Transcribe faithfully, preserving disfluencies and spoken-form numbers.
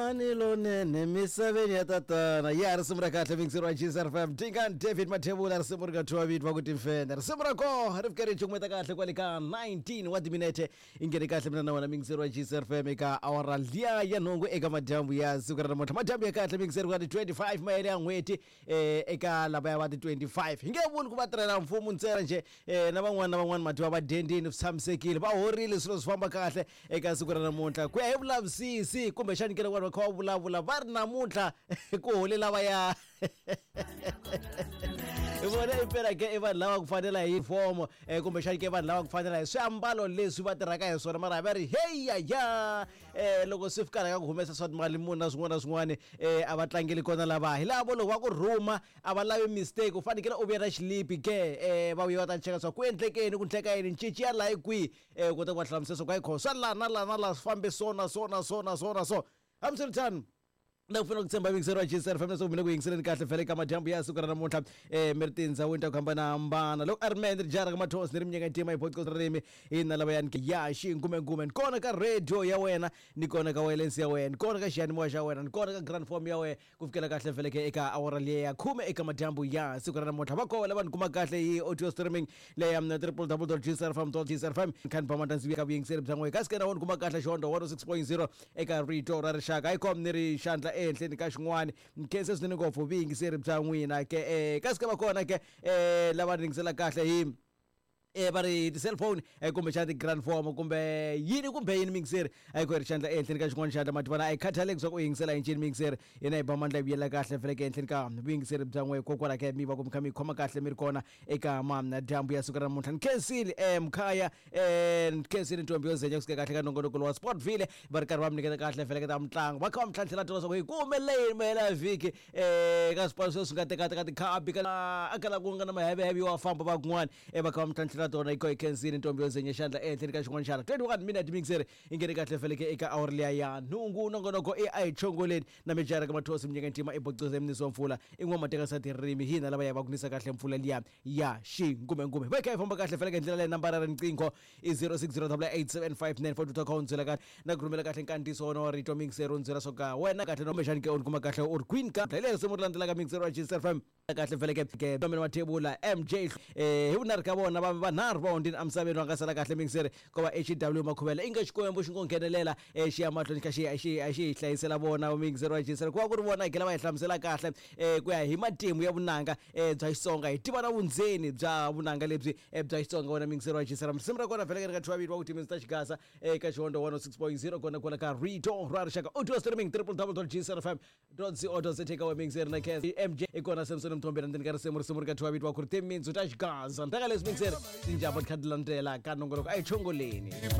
Mani lonene misaveni ya tatana ya risimu ra kahle mixer wa G S R F M Dingaan David Mathebula risimu ri nga thyiwa vito va ku timfenda risimu ra koho ri fike ri cukumeta kahle kwale ka nineteen wa timinete i nghene kahle mina na wena mixer wa G S R F M eka awara liya ya nhungu eka madyambu ya siku ra namuntlha madyambu ya kahle mixer wa ti twenty-five mayele ya n'hweti eh, eka lavaya va ti twenty-five hi nge vuli ku va tirhela mfumo ntsena njhe eh, na van'wana na van'wana matiwa va dendini swi tshamisekile va horile swilo swi famba kahle eka siku ra namuntlha ku ya hi vulavisisi kumbexani ke loko vanhu va kha va vulavula va ri namuntlha ku hole lava ya hi vona impela ke i vanhu lava ku fanela hi fomo eh, kumbexani ke vanhu lava ku fanela hi swiambalo leswi va tirhaka hi swona mara va ri heya ya eh, loko swi fika ka ku humesa swa timali muni na swin'wana na swin'wana eh, a va tlangeli kona lava hi lavo loko va ku rhuma a va lavi mistake u fanekele u vuya na xilipi ke eh, va vuya va ta cheka swa ku endlekeni ku ndleka yini cinci ya laha hi kwihi eh, u kota ku va hlamusela swa ku hayi kho swa laha na laha na laha swi fambe so na so na so na so na so hambiswiritano na ku fanele ku tshemba yingiseri wa G S R F M leswaku mi le ku yingiseleni kahle vhele ka madyambu ya siku ra namuntlha eh, mi ri tindhawini ta ku hambanahambana loko a ri mehe ni ri jara ka mathosi ni ri minyaka ntima hi podcast ririmi hi na lavayani ke ya xingumengume ni kona ka radio ya wena ni kona ka wireless ya wena ni kona ka xiyanimoya xa wena ni kona ka grand form ya wena ku fikela kahle vhele ke eka awara liya ya khume eka madyambu ya siku ra namuntlha va kona lava ni kuma kahle hi audio streaming leya triple w dot g s r f m dot g s r f m kha ni ba mandandzi ka vuyingiseri bya n'we kasi ke na wona kuma kahle xihondlo one oh six point zero eka rito ra rixaka hi kom ni ri xandla ehenhleni ka xin'wana nkhense swinene ngopfu vuyingiseri bya n'wina ke eh, kasi ke va kona ke eh, lava ringisela kahle hi eh, va ri ti-cellphone eh, kumbexana ti-grand form kumbe yini kumbe yini mingiseri a yi ku ri xandla ehenhleni ka xin'wana xandla mativana a yi khathaleki swa ku u yingisela hi ncini mingiseri yena hi ba mandla yi vuyela kahle feleke ehenhleni ka vuyingiseri bya n'we kokwala ke mi va ku mi kha mi khoma kahle mi ri kona eka madyambu ya siku ra namuntlha ni khensile eh, mkhaya eh, ni khensile ntombi yo zenya kusuka kahle ka nongonoko wa Sportville va ri karhi va mi nyiketa kahle feleke ta mitlangu va kha va mi tlhantlhela tona swa ku hi ku humelele yini mahela ya vhiki eh, ka swipano sweswi nga tekateka tikhabi ka a kala ku nga na maheveheve yo famba va kun'wana eh, va kha va mi tlhantlhela tona hi ko hi khensile ntombi yo zenya xandla ehenhleni ka xin'wana xana twenty-one minute mixer i nghene kahle feleke eka awara liya ya nhungu nongonoko i a hi chongoleni na mijara ka mathosi minyaka ntima i bocoza emnisi wa mpfula i n'wa mateka sa tirimi hina lava ya va kunisa kahle mpfula liya ya xingumengume va kha hi famba kahle feleke hi ndlela leyi nambara ra riqingho i zero six zero double eight seven five nine four two kha u ndzela kahle na ku rhumela kahle nkandziyiso wona wa rito mixer u ndzela swo ka wena kahle kumbexani ke u ni kuma kahle u ri kwini ka hi leri risimu ri landzelaka mixer wa G S R F M kahle feleke ke Domini Mathebula M J eh hi vunharhu ka vona va vanharhu va hundzini emisaveni va nga sala kahle mixer ko va H W Makhuvela inga xikwembu xi ngo nghenelela eh xi ya mahlweni kha xi xi xi hi hlayisela vona mixer wa G S R ku va ku ri vona hi gela va hi hlamusela kahle eh ku ya hi matimu ya vunanga eh bya Xitsonga hi tiva na vundzeni bya vunanga lebyi bya Xitsonga wona mixer wa G S R risimu ra kona vhele ri nga thyiwa vito va ku timitsu ta Xigaza eka xihondlo one oh six point zero kona kwala ka rito ra rixaka audio streaming triple w dot g s r f m dot co dot za ka we mixer na K M J i kona Samson Mthombeni ndzeni ka risimu risimu ri ka thyiwa vito va ku ri timitsu ta Xigaza ntaka leswi mixer tinjhamba ti kha ti landzela ka nongonoko a hi chongoleni.